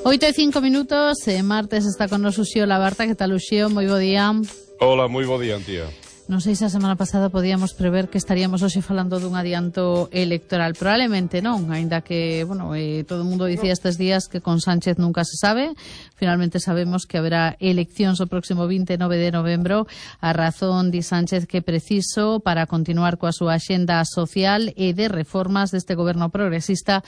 8:05, martes está con nos Uxío Labarta. Que tal, Uxío? Moi bo día. Hola, moi bo día, tía. Non sei se a semana pasada podíamos prever que estaríamos hoxe falando dun adianto electoral. Probablemente non, aínda que, todo o mundo dicía estes días que con Sánchez nunca se sabe. Finalmente sabemos que haberá eleccións o próximo 29 de novembro. A razón di Sánchez que preciso para continuar coa súa axenda social e de reformas deste goberno progresista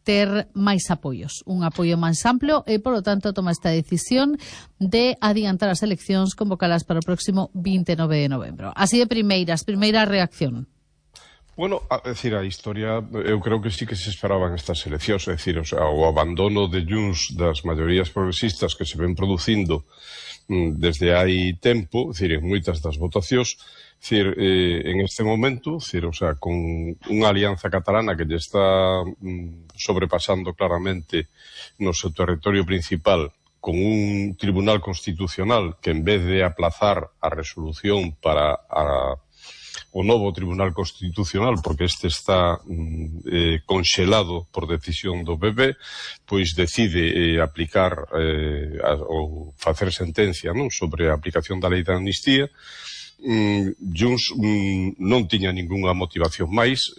ter máis apoios, un apoio máis amplo e, polo tanto, toma esta decisión de adiantar as eleccións convocadas para o próximo 29 de novembro. Así de primeira reacción. Bueno, a historia, eu creo que sí que se esperaban estas eleccións, o abandono de Junts das maiorías progresistas que se ven producindo desde hai tempo, en moitas das votacións, en este momento, con unha alianza catalana que lle está sobrepasando claramente no seu territorio principal, con un tribunal constitucional que en vez de aplazar a resolución para o novo Tribunal Constitucional, porque este está conxelado por decisión do PP, pois decide aplicar ou facer sentencia sobre a aplicación da lei da amnistía. Junts non tiña ningunha motivación máis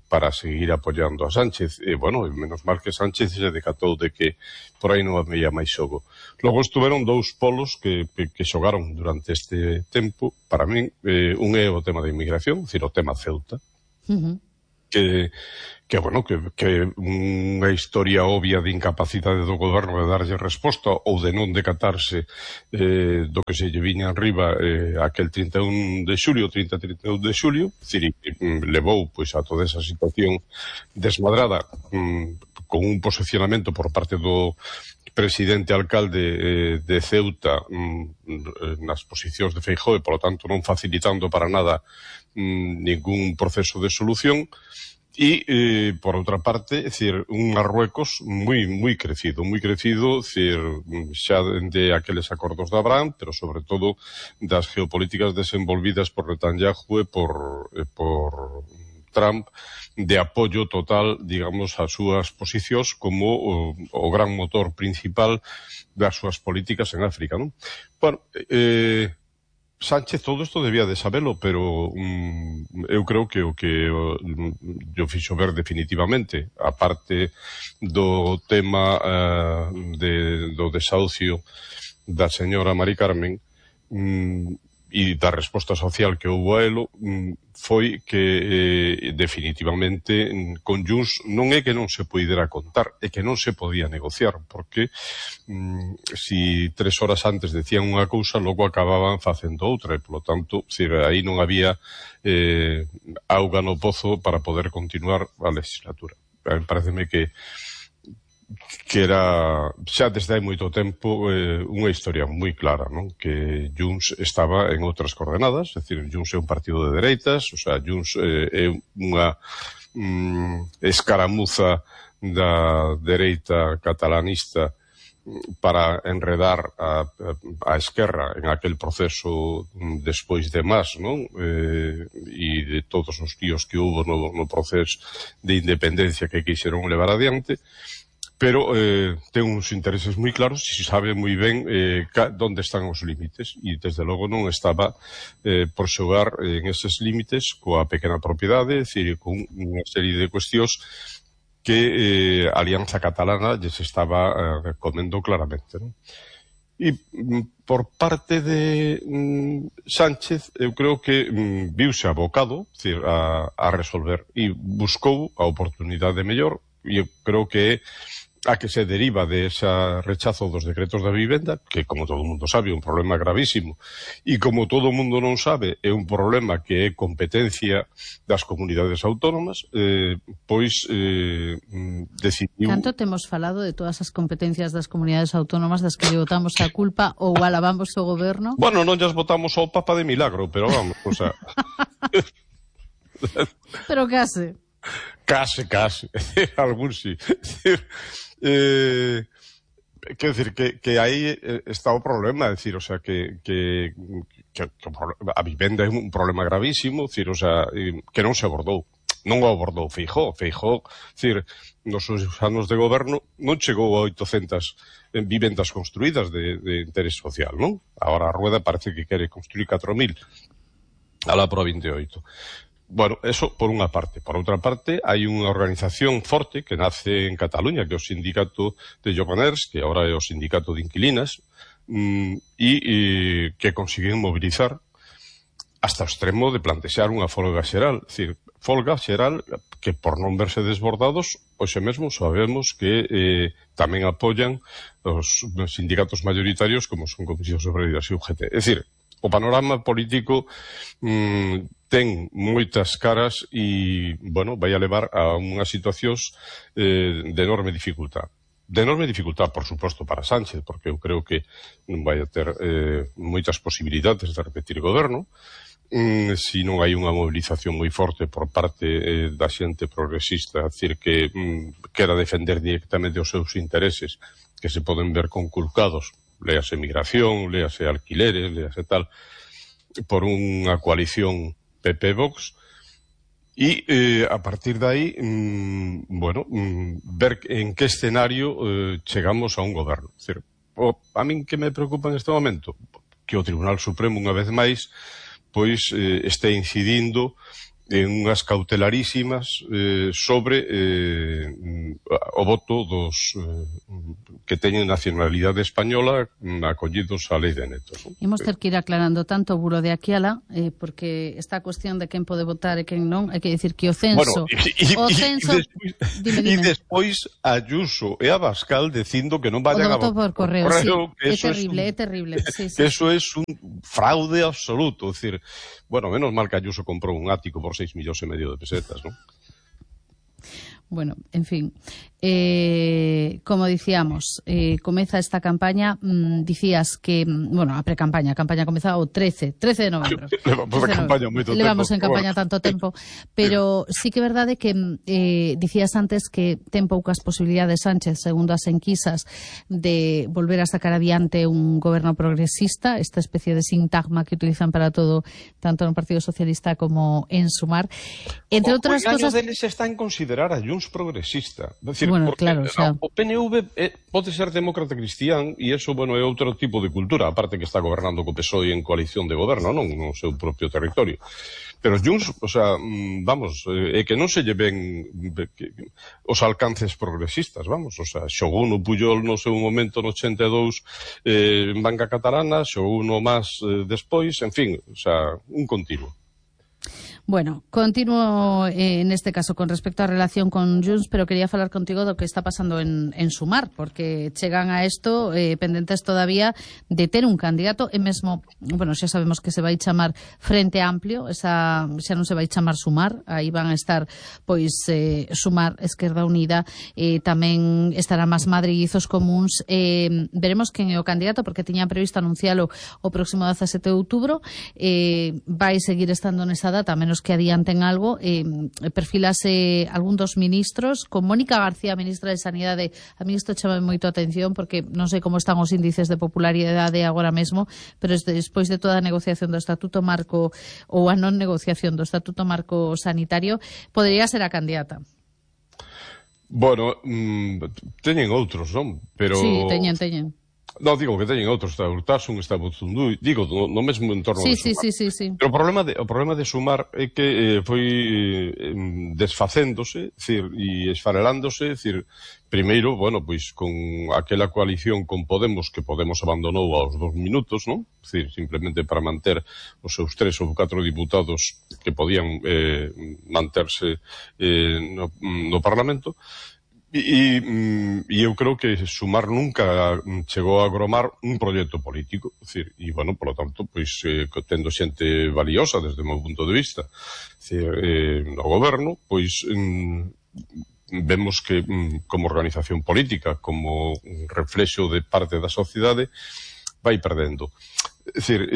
para seguir apoiando a Sánchez. Menos mal que Sánchez se decatou de que por aí non había máis xogo. Logo estuveron dous polos que xogaron durante este tempo. Para min, un é o tema da inmigración, o tema Ceuta, que unha historia obvia de incapacidade do goberno de darlle resposta ou de non decatarse do que se lle viña arriba aquel 31 de xulio, levou a toda esa situación desmadrada con un posicionamento por parte do presidente alcalde de Ceuta nas posicións de Feijóo e, polo tanto, non facilitando para nada ningún proceso de solución. E, por outra parte, un Marruecos moi crecido, xa de aqueles acordos de Abraham, pero sobre todo das geopolíticas desenvolvidas por Netanyahu e por Trump, de apoio total, digamos, ás súas posicións como o gran motor principal das súas políticas en África, non? Sánchez todo isto debía de sabelo, pero eu creo que o que yo fixo ver definitivamente, aparte do tema do desahucio da señora Mari Carmen e da resposta social que houve a elo, foi que definitivamente con Junts non é que non se poidera contar, é que non se podía negociar, porque si 3 horas antes decían unha cousa, logo acababan facendo outra, e polo tanto, aí non había auga no pozo para poder continuar a legislatura. Pareceme que era xa desde hai moito tempo unha historia moi clara, non? Que Junts estaba en outras coordenadas, é dicir, Junts é un partido de dereitas, Junts é unha escaramuza da dereita catalanista para enredar a esquerra en aquel proceso despois de Mas, non? E de todos os tíos que houve no proceso de independencia que quixeron levar adiante, pero ten uns intereses moi claros e sabe moi ben onde están os límites, e desde logo non estaba por xogar en eses límites coa pequena propiedade, é dicir, con unha serie de cuestións que a Alianza Catalana lles estaba comendo claramente, non? E por parte de Sánchez, eu creo que viuse abocado a resolver e buscou a oportunidade mellor, e eu creo que a que se deriva de ese rechazo dos decretos da vivenda, que, como todo o mundo sabe, é un problema gravísimo, e como todo o mundo non sabe, é un problema que é competencia das comunidades autónomas, decidiu... Tanto temos falado de todas as competencias das comunidades autónomas das que lle botamos a culpa ou alabamos o goberno? Bueno, non llas botamos ao Papa de milagro, pero vamos, Pero case. Case, algún sí. Quero dicir que aí está o problema, que a vivenda é un problema gravísimo, que non se abordou. non o abordou Feijóo. Feijóo, decir, nos seus anos de goberno non chegou a 800 vivendas construídas de interés social, non? Agora a Rueda parece que quere construir 4.000 alá pro 28. Bueno, eso por unha parte. Por outra parte, hai unha organización forte que nace en Cataluña, que é o sindicato de Lloganers, que agora é o sindicato de inquilinas, e que consiguen mobilizar hasta o extremo de plantexar unha folga xeral. É dicir, folga xeral que por non verse desbordados, hoxe mesmo sabemos que tamén apoian os sindicatos mayoritarios como son Comisións Obreiras e UGT. É dicir, o panorama político ten moitas caras e, bueno, vai a levar a unhas situacións de enorme dificultad. De enorme dificultad, por suposto, para Sánchez, porque eu creo que non vai a ter moitas posibilidades de repetir goberno, se non hai unha movilización moi forte por parte da xente progresista, a decir que quera defender directamente os seus intereses, que se poden ver conculcados, léase migración, léase alquileres, léase tal, por unha coalición PP-Vox, e a partir de aí, bueno, ver en que escenario chegamos a un goberno. É dicir, a min que me preocupa en este momento? Que o Tribunal Supremo, unha vez máis, pois este incidindo en unhas cautelarísimas sobre o voto dos que teñen nacionalidade española acollidos á lei de netos. Imos ter que ir aclarando tanto o buro de aquí alá, porque esta cuestión de quen pode votar e quen non, hai que dicir que o censo... E despois Ayuso e Abascal dicindo que non vayan a votar por correo, sí. É terrible. Sí, que eso é un fraude absoluto. É dicir, bueno, menos mal que Ayuso comprou un ático por 6,5 millones de pesetas, ¿no? Bueno, en fin, como dicíamos, comeza esta campaña, dicías que, bueno, a precampaña, a campaña comeza o 13 de novembro. Levamos en campaña tanto tempo, pero sí que é verdade que dicías antes que ten poucas posibilidades Sánchez, segundo as enquisas, de volver a sacar adiante un goberno progresista, esta especie de sintagma que utilizan para todo, tanto no Partido Socialista como en Sumar. Entre outras cosas... O deles está en considerar a Junts progresista. Decir, bueno, claro, o sea... o PNV pode ser demócrata cristián e eso, bueno, é outro tipo de cultura, aparte que está gobernando co PSOE en coalición de goberno, non no seu propio territorio. Pero Junts, o sea, vamos, é que non se lleven os alcances progresistas, vamos, o sea, xogou no Pujol no seu momento no 82 en banca catalana, xogou no máis despois, en fin, o sea, un continuo. Bueno, continuo en este caso con respecto á relación con Junts, pero quería falar contigo do que está pasando en Sumar, porque chegan a isto pendentes todavía de ter un candidato e mesmo, bueno, xa sabemos que se vai chamar Frente Amplio, xa non se vai chamar Sumar, aí van a estar pois Sumar, Esquerda Unida, tamén estará Más Madrid e Izos Comuns. Veremos quen é o candidato, porque tiña previsto anuncialo o próximo 17 de outubro, vai seguir estando nesa data, a menos que adianten algo. Perfilase algún dos ministros, con Mónica García, ministra de Sanidade. A mí isto chama moito a atención, porque non sei como están os índices de popularidade agora mesmo, pero despois de toda a negociación do Estatuto Marco, ou a non negociación do Estatuto Marco Sanitario, podería ser a candidata. Bueno, teñen outros, non? Pero... Sí, teñen. No, digo que teñen outros, está Urtasun, está Buzundú, digo, no mesmo entorno de Sumar. Sí. Pero o problema de Sumar é que foi desfacéndose, decir, e esfarelándose, decir, primeiro, bueno, pois con aquela coalición con Podemos, que Podemos abandonou aos 2 minutos, non? Decir, simplemente para manter os seus 3 ou 4 diputados que podían manterse no Parlamento. E eu creo que Sumar nunca chegou a agromar un proxecto político, decir, e, bueno, polo tanto, pois, tendo xente valiosa desde o meu punto de vista, decir, no goberno, pois, vemos que como organización política, como reflexo de parte da sociedade, vai perdendo. É dicir,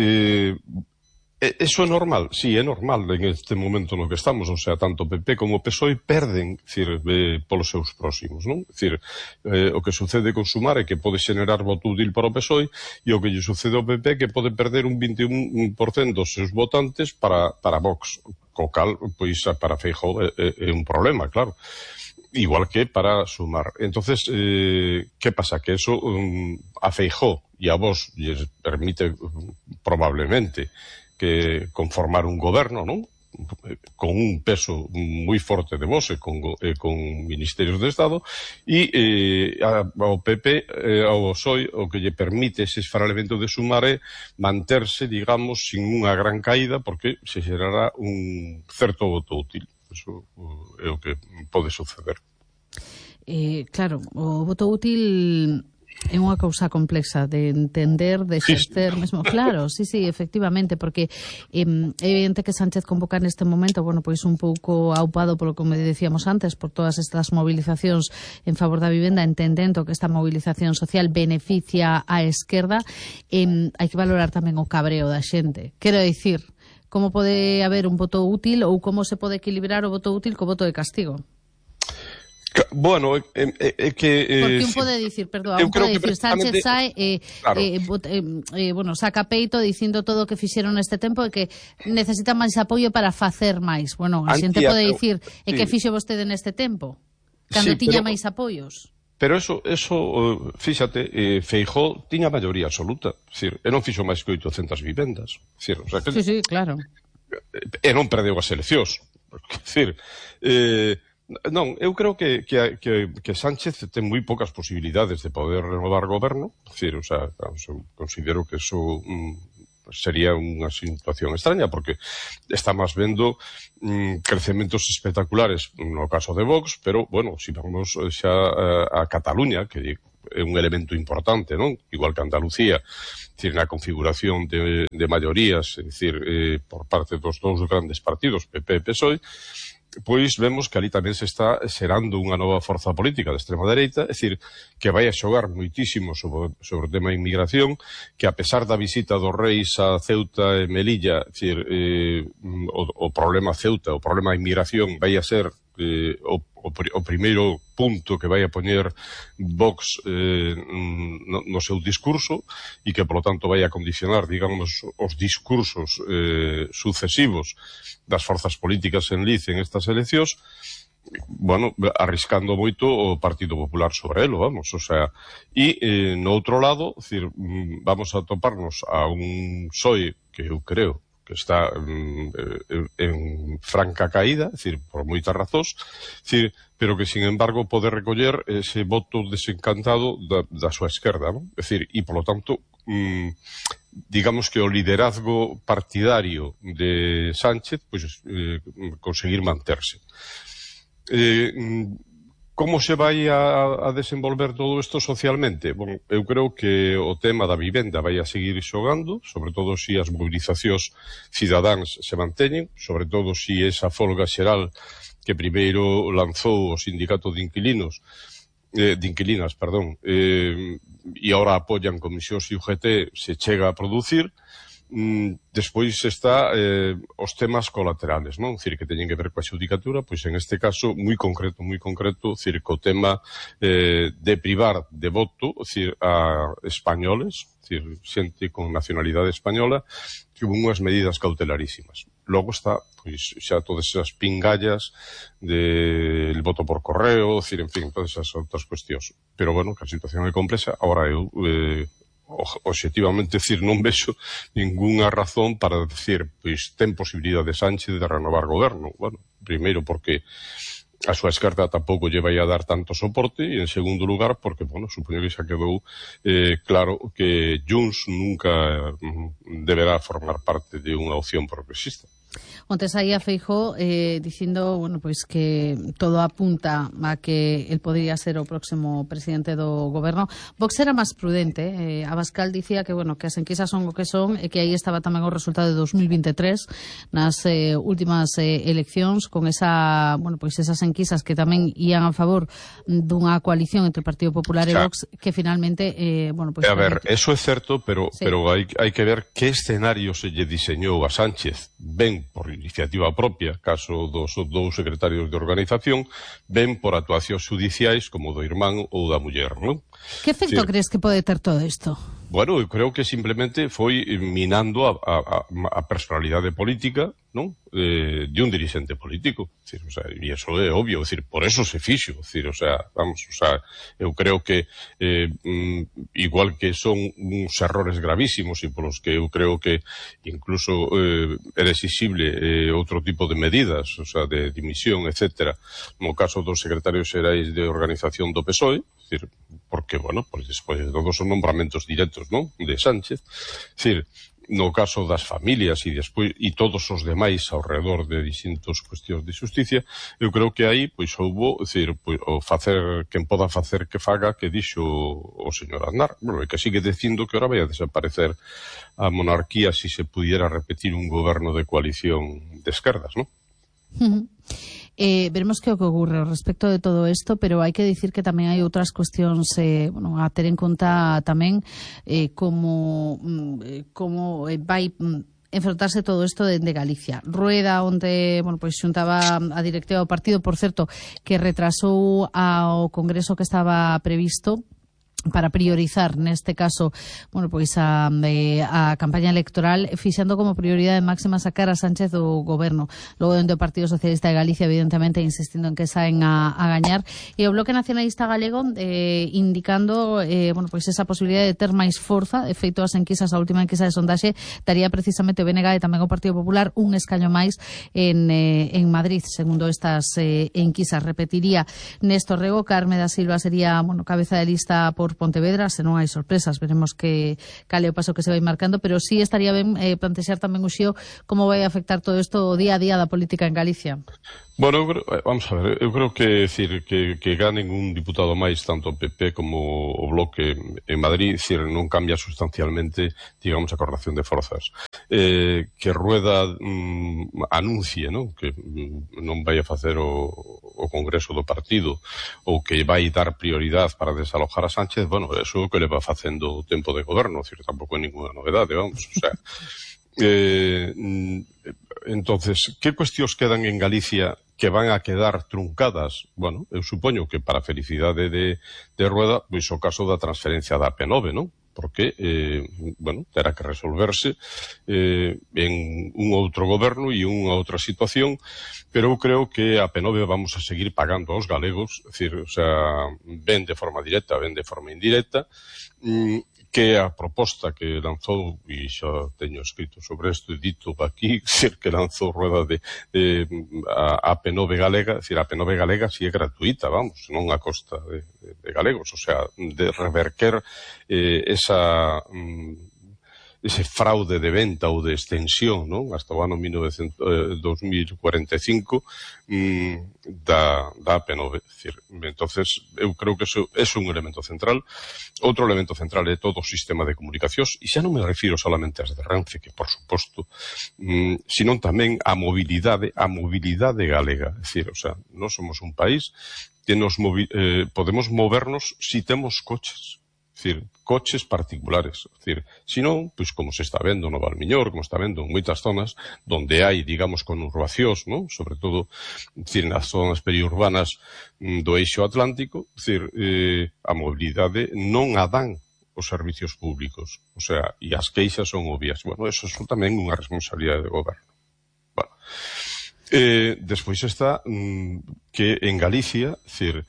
Eso é normal, sí, é normal en este momento no que estamos, o sea, tanto PP como PSOE perden, decir, polos seus próximos, non? Decir, o que sucede con Sumar é que pode xenerar voto útil para o PSOE e o que lle sucede ao PP é que pode perder un 21% dos seus votantes para Vox, co cal, pois, para Feijóo é un problema, claro. Igual que para Sumar. Entonces, ¿qué pasa? Que eso a Feijóo e a Vox lles permite probablemente que conformar un goberno, non? Con un peso moi forte de Vox e con ministerios de Estado e ao PP, ao PSOE, o que lle permite ese esfarelmento de Sumar é manterse, digamos, sin unha gran caída porque se xerará un certo voto útil. Eso é o que pode suceder. Claro, o voto útil é unha cousa complexa de entender, de exercer mesmo. Claro, sí, efectivamente, porque é evidente que Sánchez convoca neste momento, bueno, pois un pouco aupado polo que me decíamos antes, por todas estas movilizacións en favor da vivenda, entendendo que esta movilización social beneficia á esquerda, hai que valorar tamén o cabreo da xente. Quero dicir, como pode haber un voto útil ou como se pode equilibrar o voto útil co voto de castigo? Bueno, é que... Porque un pode dicir, Sánchez sae saca peito dicindo todo o que fixeron neste tempo e que necesita máis apoio para facer máis. Bueno, a xente pode dicir e que fixo vostede neste tempo, cando tiña máis apoios. Pero eso, fíxate, Feijóo tiña maioría absoluta. Decir, e non fixo máis que 800 vivendas. Decir, o sea, sí, claro. E non perdeu as eleccións. Decir, non, eu creo que Sánchez ten moi poucas posibilidades de poder renovar goberno. Decir, o sea, eu considero que eso sería unha situación extraña, porque estamos vendo crecementos espectaculares no caso de Vox, pero, bueno, si vamos xa a Cataluña, que é un elemento importante, non? Igual que Andalucía, decir, na configuración de maiorías, é dicir, por parte dos dous grandes partidos, PP e PSOE, pois vemos que ali tamén se está xerando unha nova forza política de extrema dereita, é dicir, que vai a xogar moitísimo sobre o tema de inmigración, que a pesar da visita dos reis a Ceuta e Melilla, é dicir, o problema Ceuta, o problema de inmigración vai a ser o primeiro punto que vai a poñer Vox no seu discurso e que, polo tanto, vai a condicionar, digamos, os discursos sucesivos das forzas políticas en liz en estas eleccións, bueno, arriscando moito o Partido Popular sobre elo, vamos, o sea, e no outro lado, decir, vamos a toparnos a un PSOE que eu creo que está en franca caída, é dicir, por moitas razóns, pero que, sin embargo, pode recoller ese voto desencantado da súa esquerda, non? É dicir, e, polo tanto, digamos que o liderazgo partidario de Sánchez, pois, conseguir manterse. Como se vai a desenvolver todo isto socialmente? Bon, eu creo que o tema da vivenda vai a seguir xogando, sobre todo se as movilizacións cidadáns se manteñen, sobre todo se esa folga xeral que primeiro lanzou o sindicato de inquilinas, e agora apoian comisións e UGT, se chega a producir. Despois está os temas colaterales, non? Dicir, que teñen que ver coa xudicatura, pois en este caso moi concreto, dicir, co tema de privar de voto, dicir, a españoles, dicir, xente con nacionalidade española, que hubo unhas medidas cautelarísimas. Logo está, pois, xa todas esas pingallas del voto por correo, dicir, en fin, todas esas outras cuestións. Pero, bueno, que a situación é complexa, agora eu obxectivamente, decir, non vexo ningunha razón para decir, pois, ten posibilidade de Sánchez de renovar goberno. Bueno, primeiro porque a súa esquerda tampouco lle vai a dar tanto soporte, e en segundo lugar porque, bueno, supoño que xa quedou claro que Junts nunca deberá formar parte de unha opción progresista. Onte saía Feijóo dicindo, bueno, pois que todo apunta a que el podría ser o próximo presidente do goberno. Vox era máis prudente. Abascal dicía que, bueno, que as enquisas son o que son e que aí estaba tamén o resultado de 2023 nas últimas eleccións con esa, bueno, pois esas enquisas que tamén ían a favor dunha coalición entre o Partido Popular e Vox que finalmente, bueno, pois... A ver, eso é certo, pero hai que ver que escenario se lle diseñou a Sánchez. Ben por iniciativa propia, caso dos dous secretarios de organización, ben por actuacións judiciais como do irmán ou da muller, non? Que efecto crees que pode ter todo isto? Bueno, eu creo que simplemente foi minando a personalidade política, non? De un dirigente político. Decir, o sea, e eso é obvio, decir, por eso se fixo, decir, o sea, vamos, o sea, eu creo que igual que son uns errores gravísimos e polos que eu creo que incluso era exigible outro tipo de medidas, o sea, de dimisión, etcétera, no caso dos secretarios xerais de organización do PSOE, decir, porque, bueno, pues despois de todos son nombramentos directos, non? De Sánchez, decir, no caso das familias e despois e todos os demais ao redor de distintos cuestións de xusticia, eu creo que aí pois houbo, decir, pois, o facer quen poda facer que faga que dixo o señor Aznar, bueno, e que sigue dicindo que ahora vai a desaparecer a monarquía si se pudiera repetir un goberno de coalición de esquerdas, non? Veremos que ocurre respecto de todo isto, pero hai que dicir que tamén hai outras cuestións bueno, a ter en conta tamén como vai enfrontarse todo isto de Galicia. Rueda, onde, bueno, pois xuntaba a directiva do partido, por certo, que retrasou ao congreso que estaba previsto para priorizar, neste caso, bueno, pois a campaña electoral, fixando como prioridade máxima sacar a Sánchez do goberno. Logo, dentro do Partido Socialista de Galicia, evidentemente, insistindo en que saen a gañar. E o Bloque Nacionalista Galego indicando, bueno, pois esa posibilidade de ter máis forza. De feito, as enquisas, a última enquisa de sondaxe, daría precisamente o BNG e tamén o Partido Popular un escaño máis en Madrid, segundo estas enquisas. Repetiría Néstor Rego, Carme da Silva sería, bueno, cabeza de lista por Pontevedra, se non hai sorpresas, veremos cal é o paso que se vai marcando, pero sí estaría ben plantexar tamén o xío como vai afectar todo isto o día a día da política en Galicia. Bueno, vamos a ver, eu creo que decir que ganen un diputado máis tanto o PP como o Bloque en Madrid, decir, non cambia sustancialmente, digamos, a correlación de forzas. Que Rueda anuncie, ¿no?, que non vai a facer o Congreso do partido ou que vai dar prioridade para desalojar a Sánchez, bueno, eso é o que le va facendo o tempo de goberno, decir, tampouco é ninguna novedade, vamos, o sea... entonces, que cuestións quedan en Galicia que van a quedar truncadas? Bueno, eu supoño que para a felicidade de Rueda, pois o caso da transferencia da AP9, non? Porque, bueno, terá que resolverse en un outro goberno e unha outra situación, pero eu creo que a AP9 vamos a seguir pagando aos galegos, é dicir, o sea, ben de forma directa, ben de forma indirecta, que a proposta que lanzou, e xa teño escrito sobre isto e dito aquí, que lanzou Rueda de a AP9 galega, é dicir, a AP9 galega si é gratuita, vamos, non a costa de galegos, o sea, de reverter ese fraude de venta ou de extensión, non? Hasta o ano 2045 da AP9. Entonces, eu creo que eso é un elemento central. Outro elemento central é todo o sistema de comunicacións, e xa non me refiro solamente ás de Renfe, que por suposto, sino tamén a mobilidade galega. É dicir, o sea, nós somos un país que podemos movernos si temos coches. É dicir, coches particulares. É dicir, se non, pois como se está vendo no Valmiñor, como está vendo en moitas zonas donde hai, digamos, conurbacións, non? Sobre todo, é dicir, nas zonas periurbanas do eixo atlántico, é dicir, a mobilidade non a dan os servicios públicos. O sea, e as queixas son obvias. Bueno, eso é tamén unha responsabilidade de goberno. Bueno. Despois está que en Galicia, é dicir,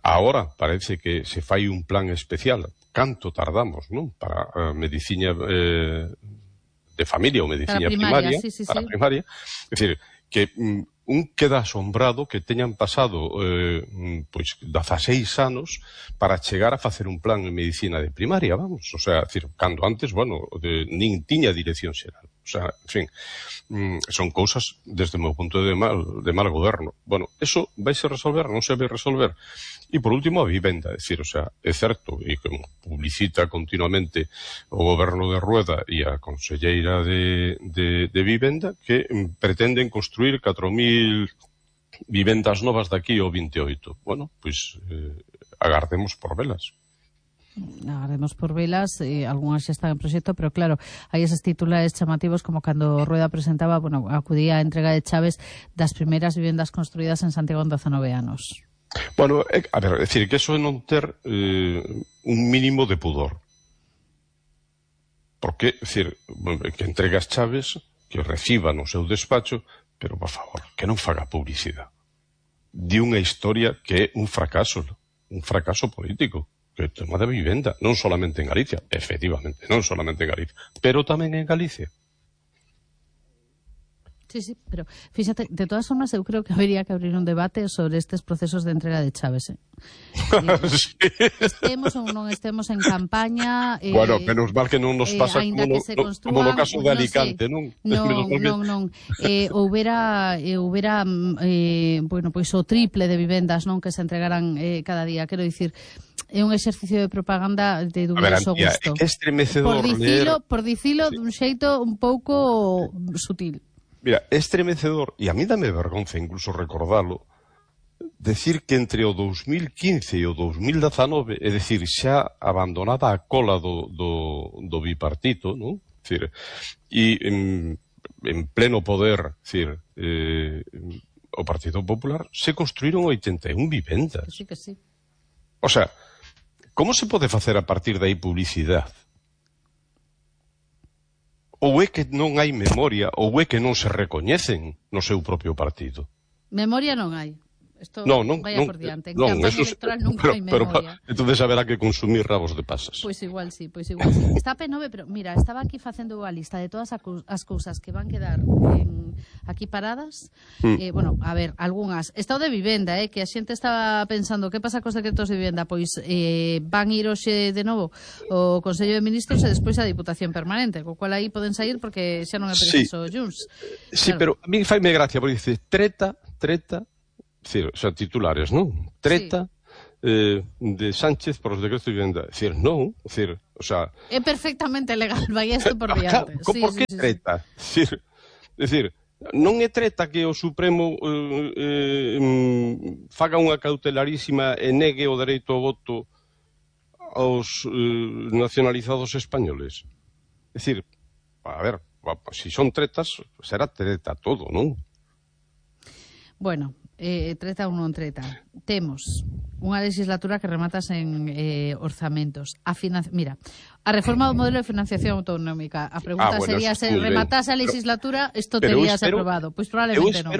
agora parece que se fai un plan especial. Canto tardamos, non? Para a medicina de familia ou medicina primaria, para a primaria. É dicir, que un queda asombrado que teñan pasado pois 16 anos para chegar a facer un plan en medicina de primaria, vamos. O sea, decir, cando antes, bueno, nin tiña dirección xeral. O sea, en fin, son cousas, desde o meu punto de mal goberno. Bueno, eso vaise resolver, non se vai resolver. E por último, a vivenda, é dicir, o sea, é certo, e como publicita continuamente o goberno de Rueda e a conselleira de vivenda, que pretenden construir 4.000 vivendas novas daqui ao 28. Bueno, pois agardemos por velas. Agardemos por velas, algunhas xa están en proxecto, pero claro, hai eses titulares chamativos como cando Rueda presentaba, bueno, acudía a entrega de chaves das primeiras vivendas construídas en Santiago en 19 anos. Bueno, a ver, é dicir, que eso é non ter un mínimo de pudor. Porque, é dicir, que entrega as chaves, que reciba no seu despacho, pero, por favor, que non faga publicidade de unha historia que é un fracaso político, que é o tema da vivenda, non solamente en Galicia, efectivamente, non solamente en Galicia, pero tamén en Galicia. Sí, pero fíxate, de todas formas eu creo que habería que abrir un debate sobre estes procesos de entrega de chaves. Sí. Estemos ou non estemos en campaña... Bueno, menos mal que non nos pasa como no caso de Alicante, non? Non. Houbera bueno, pois o triple de vivendas, non, que se entregaran cada día, quero dicir... É un exercicio de propaganda de dubidoso gusto. É estremecedor por dicilo dun xeito un pouco sutil. Mira, é estremecedor, e a mí dame vergonza incluso recordalo, decir que entre o 2015 e o 2019, é dicir, xa abandonada a cola do bipartito, non? Decir, e en pleno poder, decir, o Partido Popular, se construíron 81 vivendas. Sí que sí. O sea, como se pode facer a partir de aí publicidade? Ou é que non hai memoria, ou é que non se recoñecen no seu propio partido? Memoria non hai. Isto vaya por diante. En campaña electoral nunca hai memoria. Entonces haberá que consumir rabos de pasas. Pois igual sí. Está P9, pero mira, estaba aquí facendo a lista de todas as cousas que van quedar aquí paradas. Bueno, a ver, algunhas. Estado de vivenda, que a xente estaba pensando que pasa cos decretos de vivenda, pois van ir hoxe de novo o Consello de Ministros e despois a Diputación Permanente, co cual aí poden sair porque xa non é preciso Junts. Sí, claro. Pero a mí faime gracia, porque dice treta, decir, o sea, titulares, non? Treta de Sánchez por os decretos de vivenda. Decir, non, decir, o sea... É perfectamente legal, vai isto por diante. Por que treta? Decir, non é treta que o Supremo faga unha cautelarísima e negue o dereito ao voto aos nacionalizados españoles. Decir, a ver, se son tretas, será treta todo, non? Bueno, treta ou non treta. Temos unha legislatura que remata en orzamentos. Mira, a reforma do modelo de financiación autonómica. A pregunta sería se rematase a legislatura, isto teríase aprobado. Pois probablemente non.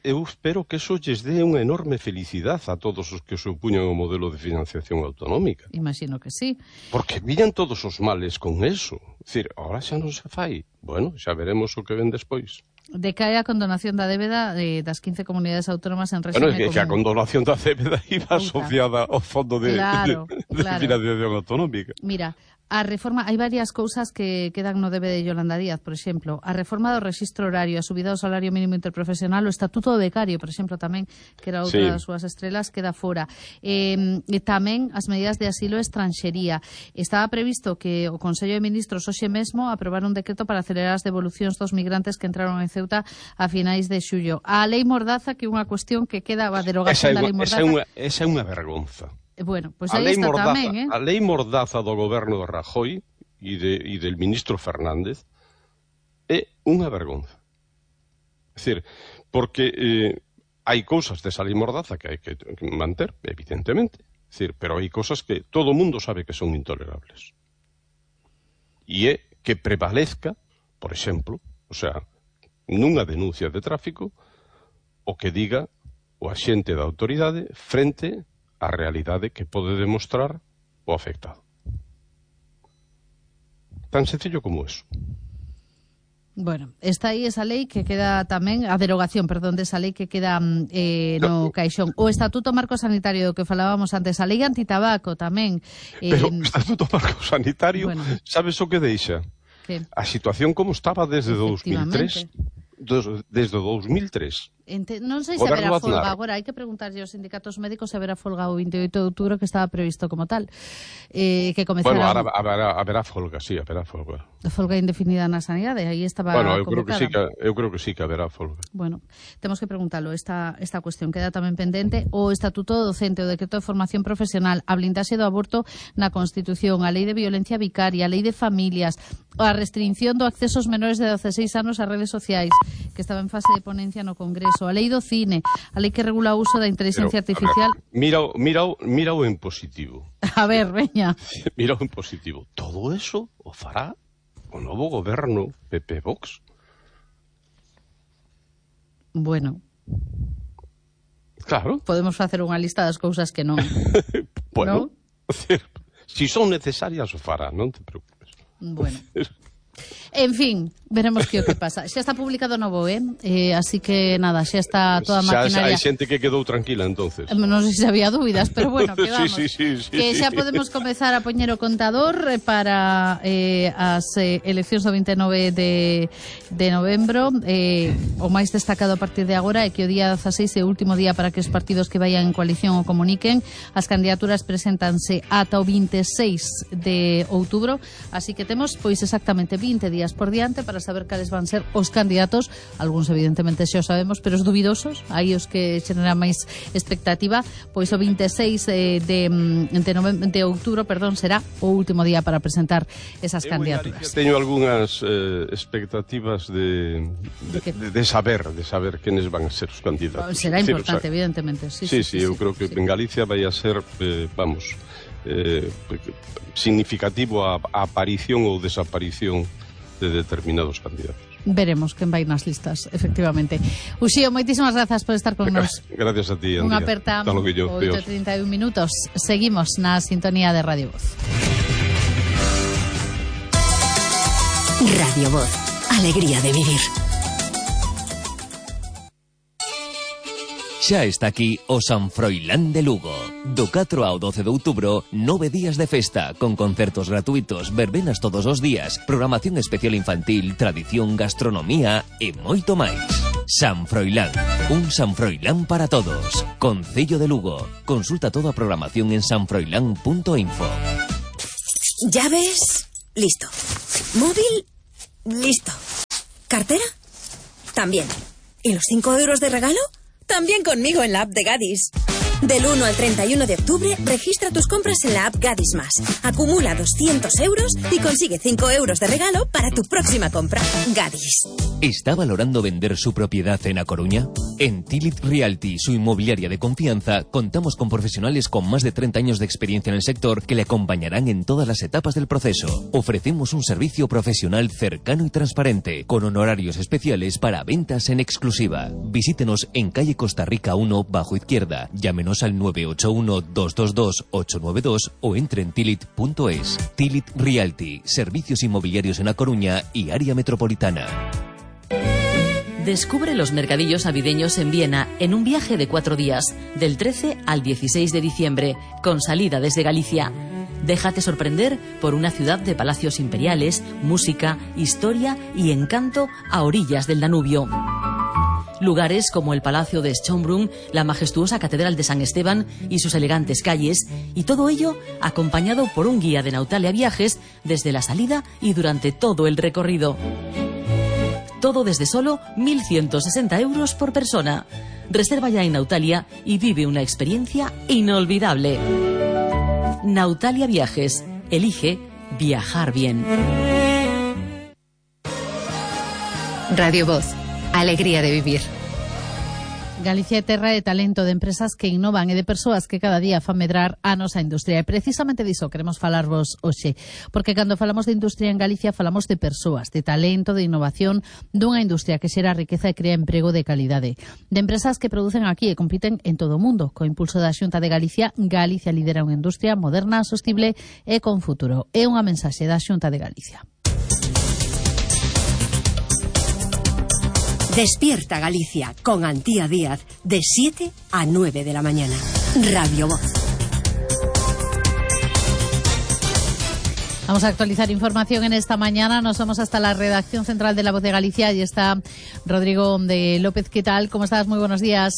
Eu espero que eso lles dé unha enorme felicidade a todos os que se opuñan ao modelo de financiación autonómica. Imagino que sí. Porque viñan todos os males con eso. É dicir, agora xa non se fai. Bueno, xa veremos o que ven despois. Decae a condonación da débeda das 15 comunidades autónomas en régimen común. Que a condonación da débeda iba asociada ao fondo de financiación autonómica. Mira, a reforma, hai varias cousas que quedan no debe de Yolanda Díaz, por exemplo, a reforma do rexistro horario, a subida do salario mínimo interprofesional, o estatuto do becario, por exemplo, tamén, que era outra das súas estrelas, queda fora. E tamén as medidas de asilo e estranxería. Estaba previsto que o Consello de Ministros hoxe mesmo aprobar un decreto para acelerar as devolucións dos migrantes que entraron en Ceuta a finais de xullo. A lei Mordaza, que é unha cuestión que queda a derogación da lei Mordaza. Esa é unha vergonza. Bueno, pois aí está tamén, A lei Mordaza do goberno de Rajoy e del ministro Fernández é unha vergonza. É dicir, porque hai cousas desa lei Mordaza que hai que manter, evidentemente, é dicir, pero hai cousas que todo o mundo sabe que son intolerables. E é que prevalezca, por exemplo, o sea, nunha denuncia de tráfico, o que diga o axente da autoridade frente a realidade que pode demostrar o afectado. Tan sencillo como eso. Bueno, está aí esa lei que queda tamén, a derogación, perdón, desa lei que queda no caixón. O Estatuto Marco Sanitario do que falábamos antes, a lei antitabaco tamén. Pero o Estatuto Marco Sanitario, bueno, sabes o que deixa? a situación como estaba desde 2003. Desde 2003. Non sei se haberá folga agora, hai que preguntarlle aos sindicatos médicos se haberá folga o 28 de outubro que estaba previsto como tal. Que comezará... Bueno, haberá folga, sí, haberá folga. Folga indefinida na sanidade, aí estaba eu convocada. creo que sí que haberá folga. Bueno, temos que preguntarlo, esta cuestión queda tamén pendente. O Estatuto Docente, o Decreto de Formación Profesional, a blindaxe do aborto na Constitución, a Lei de Violencia Vicaria, a Lei de Familias, a restricción do acceso aos menores de 16 anos ás redes sociais, que estaba en fase de ponencia no Congreso, a Lei do Cine, a lei que regula o uso da inteligencia artificial. Mira o en positivo. A ver, veña. Mira o en positivo. Todo eso o fará o novo goberno PP Vox. Bueno. Claro. Podemos facer unha lista das cousas que non. Bueno, ¿no? Si son necesarias o fará, non te preocupes. Bueno. En fin, veremos que o que pasa. Xa está publicado no BOE, así que nada, xa está toda a maquinaria. Hai xente que quedou tranquila, entonces. Non sei se había dúbidas, pero bueno, quedamos. Sí, que xa podemos comezar a poñer o contador para as eleccións do 29 de novembro. O máis destacado a partir de agora é que o día 16 é o último día para que os partidos que vayan en coalición o comuniquen. As candidaturas preséntanse ata o 26 de outubro, así que temos pois exactamente 20 días por diante para saber cales van ser os candidatos. Algúns evidentemente xa o sabemos, pero os dubidosos, aí os que xeneran máis expectativa, pois o 26 de outubro, será o último día para presentar esas candidaturas. Teño algunhas expectativas de saber quenes van a ser os candidatos. Será importante, evidentemente. Sí, eu creo que en Galicia vai a ser, significativo a aparición ou desaparición de determinados candidatos. Veremos quen vai nas listas, efectivamente. Uxío, moitísimas grazas por estar con nos. Gracias a ti, Andrea. Unha aperta, 8:31 minutos. Seguimos na sintonía de Radio Voz. Radio Voz, alegría de vivir. Xa está aquí o San Froilán de Lugo. Do 4 ao 12 de outubro, 9 días de festa, con concertos gratuitos, verbenas todos os días, programación especial infantil, tradición, gastronomía e moito máis. San Froilán, un San Froilán para todos. Concello de Lugo. Consulta toda a programación en sanfroilán.info. ¿Llaves? Listo. ¿Móvil? Listo. ¿Cartera? También. ¿Y los 5 euros de regalo? También conmigo en la app de Gadis. Del 1 al 31 de octubre, registra tus compras en la app Gadis Más. Acumula 200 euros y consigue 5 euros de regalo para tu próxima compra. Gadis. ¿Está valorando vender su propiedad en A Coruña? En Tilit Realty, su inmobiliaria de confianza, contamos con profesionales con más de 30 años de experiencia en el sector que le acompañarán en todas las etapas del proceso. Ofrecemos un servicio profesional cercano y transparente, con honorarios especiales para ventas en exclusiva. Visítenos en calle Costa Rica 1, bajo izquierda. Llámenos al 981-222-892 o entre en tilit.es. Tilit Realty, servicios inmobiliarios en A Coruña y área metropolitana. Descubre los mercadillos navideños en Viena en un viaje de 4 días, del 13 al 16 de diciembre, con salida desde Galicia. Déjate sorprender por una ciudad de palacios imperiales, música, historia y encanto a orillas del Danubio. Lugares como el Palacio de Schönbrunn, la majestuosa Catedral de San Esteban y sus elegantes calles, y todo ello acompañado por un guía de Nautalia Viajes desde la salida y durante todo el recorrido. Todo desde solo 1.160 euros por persona. Reserva ya en Nautalia y vive una experiencia inolvidable. Nautalia Viajes. Elige viajar bien. Radio Voz, alegría de vivir. Galicia é terra de talento, de empresas que innovan e de persoas que cada día fan medrar a nosa industria. E precisamente diso queremos falarvos hoxe, porque cando falamos de industria en Galicia falamos de persoas, de talento, de innovación, dunha industria que xera riqueza e crea emprego de calidade. De empresas que producen aquí e compiten en todo o mundo. Co impulso da Xunta de Galicia, Galicia lidera unha industria moderna, sostible e con futuro. É unha mensaxe da Xunta de Galicia. Despierta Galicia con Antía Díaz de 7 a 9 de la mañana. Radio Voz. Vamos a actualizar información en esta mañana. Nos vamos hasta la redacción central de La Voz de Galicia. Ahí está Rodrigo de López. ¿Qué tal? ¿Cómo estás? Muy buenos días.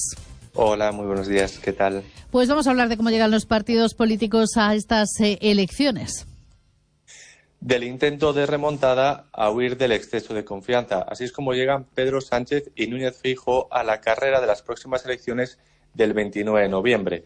Hola, muy buenos días. ¿Qué tal? Pues vamos a hablar de cómo llegan los partidos políticos a estas elecciones. Del intento de remontada a huir del exceso de confianza. Así es como llegan Pedro Sánchez y Núñez Feijóo a la carrera de las próximas elecciones del 29 de noviembre.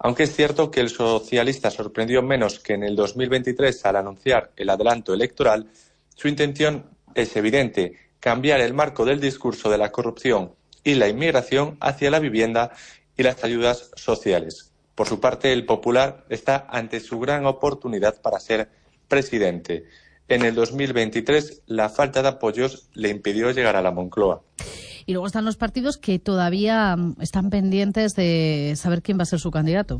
Aunque es cierto que el socialista sorprendió menos que en el 2023 al anunciar el adelanto electoral, su intención es evidente: cambiar el marco del discurso de la corrupción y la inmigración hacia la vivienda y las ayudas sociales. Por su parte, el Popular está ante su gran oportunidad para ser presidente. En el 2023, la falta de apoyos le impidió llegar a la Moncloa. Y luego están los partidos que todavía están pendientes de saber quién va a ser su candidato.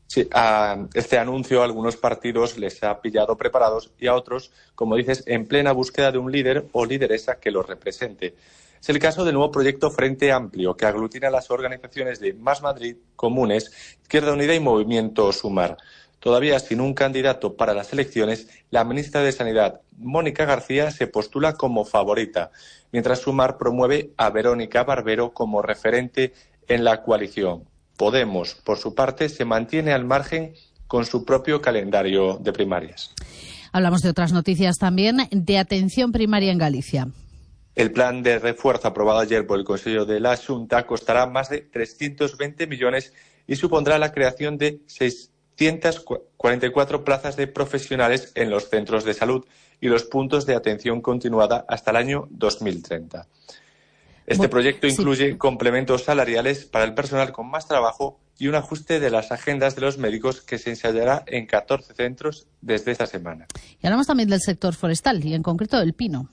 Sí, a este anuncio a algunos partidos les ha pillado preparados y a otros, como dices, en plena búsqueda de un líder o lideresa que los represente. Es el caso del nuevo proyecto Frente Amplio, que aglutina las organizaciones de Más Madrid, Comunes, Izquierda Unida y Movimiento Sumar. Todavía sin un candidato para las elecciones, la ministra de Sanidad, Mónica García, se postula como favorita, mientras Sumar promueve a Verónica Barbero como referente en la coalición. Podemos, por su parte, se mantiene al margen con su propio calendario de primarias. Hablamos de otras noticias también, de atención primaria en Galicia. El plan de refuerzo aprobado ayer por el Consejo de la Xunta costará más de 320 millones y supondrá la creación de 644 plazas de profesionales en los centros de salud y los puntos de atención continuada hasta el año 2030. Este proyecto incluye complementos salariales para el personal con más trabajo y un ajuste de las agendas de los médicos que se ensayará en 14 centros desde esta semana. Y hablamos también del sector forestal y en concreto del pino.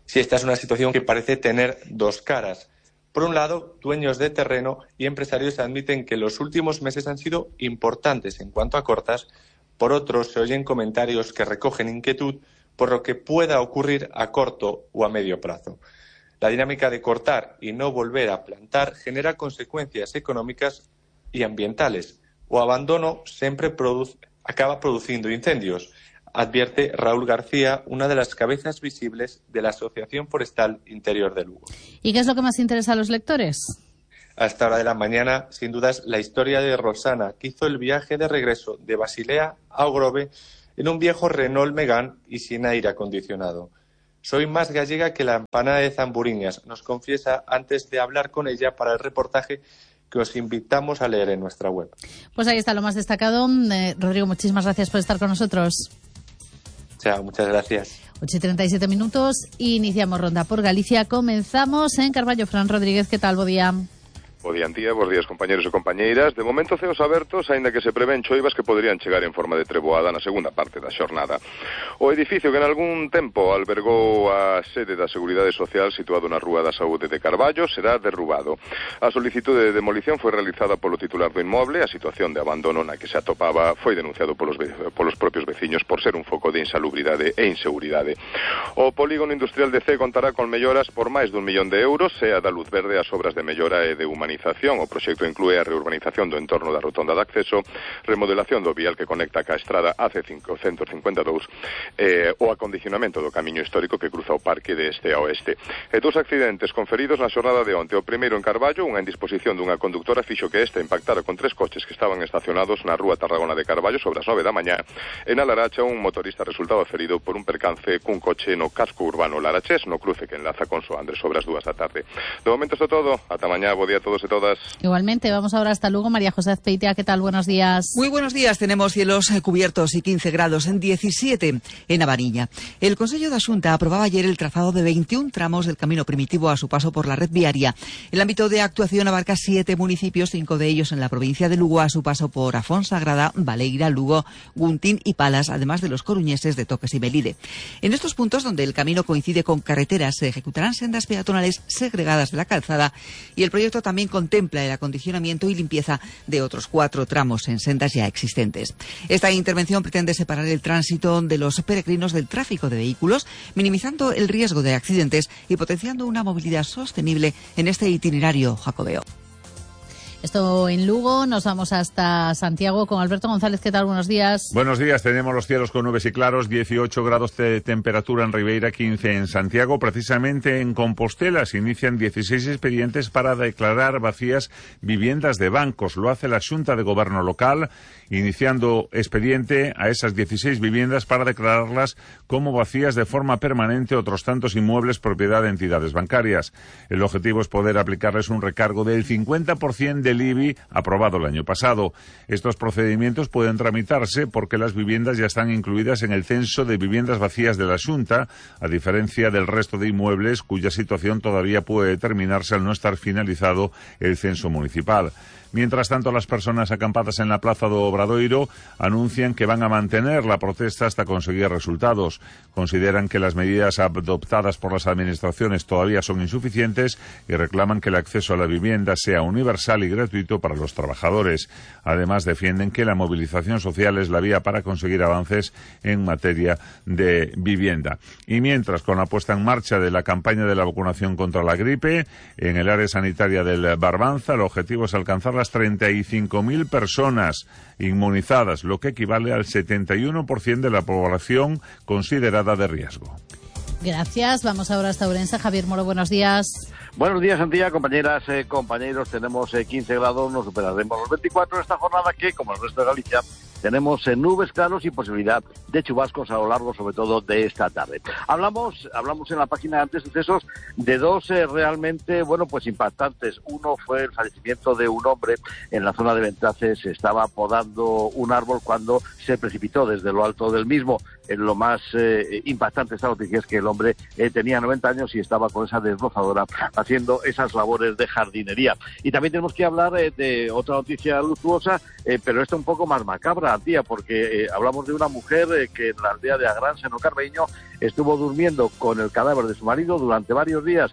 Sí, esta es una situación que parece tener dos caras. Por un lado, dueños de terreno y empresarios admiten que los últimos meses han sido importantes en cuanto a cortas. Por otro, se oyen comentarios que recogen inquietud por lo que pueda ocurrir a corto o a medio plazo. La dinámica de cortar y no volver a plantar genera consecuencias económicas y ambientales. O abandono siempre acaba produciendo incendios, advierte Raúl García, una de las cabezas visibles de la Asociación Forestal Interior de Lugo. ¿Y qué es lo que más interesa a los lectores? A esta hora de la mañana, sin dudas, la historia de Rosana, que hizo el viaje de regreso de Basilea a Ogrove en un viejo Renault Megane y sin aire acondicionado. Soy más gallega que la empanada de Zamburiñas, nos confiesa antes de hablar con ella para el reportaje que os invitamos a leer en nuestra web. Pues ahí está lo más destacado. Rodrigo, muchísimas gracias por estar con nosotros. Chao, muchas gracias. 8:37 minutos, iniciamos ronda por Galicia. Comenzamos en Carballo. Fran Rodríguez, ¿qué tal? Bo día. Bo día, bos días, compañeros e compañeiras. De momento, ceos abertos, aínda que se prevén choivas que poderían chegar en forma de treboada na segunda parte da xornada. O edificio que en algún tempo albergou a sede da Seguridade Social situado na Rúa da Saúde de Carballo será derrubado. A solicitude de demolición foi realizada polo titular do inmoble. A situación de abandono na que se atopaba foi denunciado polos propios veciños por ser un foco de insalubridade e inseguridade. O polígono industrial de C contará con melloras por máis dun millón de euros e a da luz verde as obras de mellora e de humanización. O proxecto inclúe a reurbanización do entorno da rotonda de acceso, remodelación do vial que conecta ca estrada AC552 o acondicionamento do camiño histórico que cruza o parque de este a oeste. E dous accidentes conferidos na xornada de onte. O primeiro en Carballo, unha indisposición dunha conductora fixo que esta impactara con 3 coches que estaban estacionados na Rúa Tarragona de Carballo sobre as 9 da mañá. En a Laracha, un motorista resultaba ferido por un percance cun coche no casco urbano Larachés, no cruce que enlaza con Soandres sobre as 2 da tarde. De momento isto todo. Ata mañá. Bo día a todos e todas. Igualmente, vamos ahora hasta Lugo. María José Azpeitia, ¿qué tal? Buenos días. Muy buenos días. Tenemos cielos cubiertos y 15 grados en 17 en Avariña. El Consejo da Xunta aprobaba ayer el trazado de 21 tramos del camino primitivo a su paso por la red viaria. El ámbito de actuación abarca 7 municipios, 5 de ellos en la provincia de Lugo a su paso por Afonsagrada, Baleira, Lugo, Guntín y Palas, además de los coruñeses de Toques y Melide. En estos puntos, donde el camino coincide con carreteras, se ejecutarán sendas peatonales segregadas de la calzada y el proyecto también contempla el acondicionamiento y limpieza de otros 4 tramos en sendas ya existentes. Esta intervención pretende separar el tránsito de los peregrinos del tráfico de vehículos, minimizando el riesgo de accidentes y potenciando una movilidad sostenible en este itinerario jacobeo. Esto en Lugo. Nos vamos hasta Santiago con Alberto González. ¿Qué tal? Buenos días. Buenos días. Tenemos los cielos con nubes y claros, 18 grados de temperatura en Ribeira, 15 en Santiago. Precisamente en Compostela se inician 16 expedientes para declarar vacías viviendas de bancos. Lo hace la Xunta de Gobierno local, iniciando expediente a esas 16 viviendas para declararlas como vacías de forma permanente, otros tantos inmuebles propiedad de entidades bancarias. El objetivo es poder aplicarles un recargo del 50% del IBI aprobado el año pasado. Estos procedimientos pueden tramitarse porque las viviendas ya están incluidas en el censo de viviendas vacías de la Xunta, a diferencia del resto de inmuebles cuya situación todavía puede determinarse al no estar finalizado el censo municipal. Mientras tanto, las personas acampadas en la Plaza do Obradoiro anuncian que van a mantener la protesta hasta conseguir resultados. Consideran que las medidas adoptadas por las administraciones todavía son insuficientes y reclaman que el acceso a la vivienda sea universal y gratuito para los trabajadores. Además, defienden que la movilización social es la vía para conseguir avances en materia de vivienda. Y mientras, con la puesta en marcha de la campaña de la vacunación contra la gripe, en el área sanitaria del Barbanza, el objetivo es alcanzar las 35.000 personas inmunizadas, lo que equivale al 71% de la población considerada de riesgo. Gracias. Vamos ahora hasta Ourense. Javier Moro, buenos días. Buenos días, Antía, compañeras, compañeros. Tenemos 15 grados, nos superaremos los 24 en esta jornada que, como el resto de Galicia, tenemos nubes, claros y posibilidad de chubascos a lo largo, sobre todo, de esta tarde. Hablamos en la página de antecesos de dos realmente, pues impactantes. Uno fue el fallecimiento de un hombre en la zona de Ventraces. Se estaba podando un árbol cuando se precipitó desde lo alto del mismo. Lo más impactante de esta noticia es que el hombre tenía 90 años y estaba con esa desbrozadora haciendo esas labores de jardinería. Y también tenemos que hablar de otra noticia luctuosa, pero esta un poco más macabra, tía, porque hablamos de una mujer que en la aldea de Agrán, Seno Carbeño, estuvo durmiendo con el cadáver de su marido durante varios días.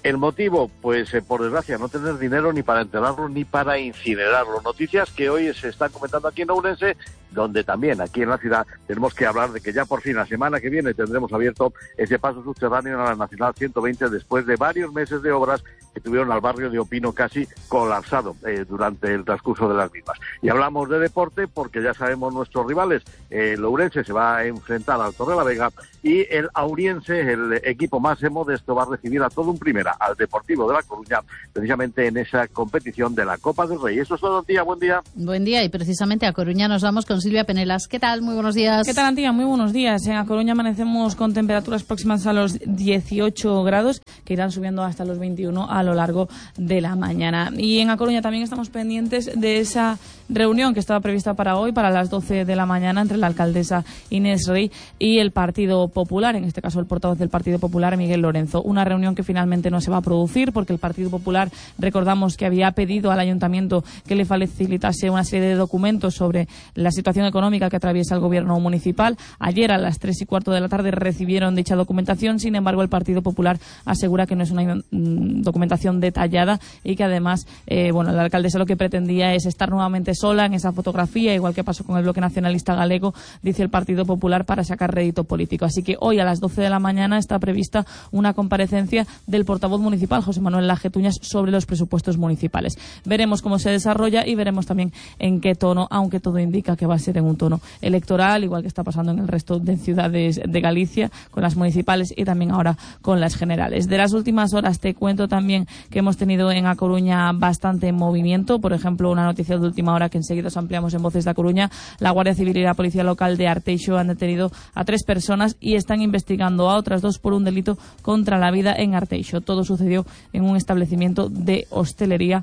El motivo, pues por desgracia, no tener dinero ni para enterrarlo ni para incinerarlo. Noticias que hoy se están comentando aquí en Ourense, donde también aquí en la ciudad tenemos que hablar de que ya por fin la semana que viene tendremos abierto ese paso subterráneo a la Nacional 120 después de varios meses de obras que tuvieron al barrio de Opino casi colapsado durante el transcurso de las mismas. Y hablamos de deporte porque ya sabemos nuestros rivales. El Ourense se va a enfrentar al Torrelavega y el Auriense, el equipo más modesto, va a recibir a todo un primera, al Deportivo de La Coruña, precisamente en esa competición de la Copa del Rey. Eso es todo, Antía. Buen día. Buen día, y precisamente a Coruña nos vamos con Silvia Penelas. ¿Qué tal? Muy buenos días. ¿Qué tal, Antía? Muy buenos días. En A Coruña amanecemos con temperaturas próximas a los 18 grados, que irán subiendo hasta los 21 a lo largo de la mañana. Y en A Coruña también estamos pendientes de esa reunión que estaba prevista para hoy, para las 12 de la mañana, entre la alcaldesa Inés Rey y el Partido Popular, en este caso el portavoz del Partido Popular, Miguel Lorenzo. Una reunión que finalmente no se va a producir porque el Partido Popular, recordamos que había pedido al Ayuntamiento que le facilitase una serie de documentos sobre la situación económica que atraviesa el gobierno municipal. Ayer a las 3:15 de la tarde recibieron dicha documentación. Sin embargo, el Partido Popular asegura que no es una documentación detallada y que además, la alcaldesa lo que pretendía es estar nuevamente sola en esa fotografía, igual que pasó con el Bloque Nacionalista Galego, dice el Partido Popular, para sacar rédito político. Así que hoy a las 12 de la mañana está prevista una comparecencia del portavoz municipal, José Manuel Lajetuñas, sobre los presupuestos municipales. Veremos cómo se desarrolla y veremos también en qué tono, aunque todo indica que va a ser en un tono electoral, igual que está pasando en el resto de ciudades de Galicia, con las municipales y también ahora con las generales. De las últimas horas te cuento también que hemos tenido en A Coruña bastante movimiento. Por ejemplo, una noticia de última hora que enseguida os ampliamos en Voces de A Coruña. La Guardia Civil y la Policía Local de Arteixo han detenido a 3 personas y están investigando a otras 2 por un delito contra la vida en Arteixo. Todo sucedió en un establecimiento de hostelería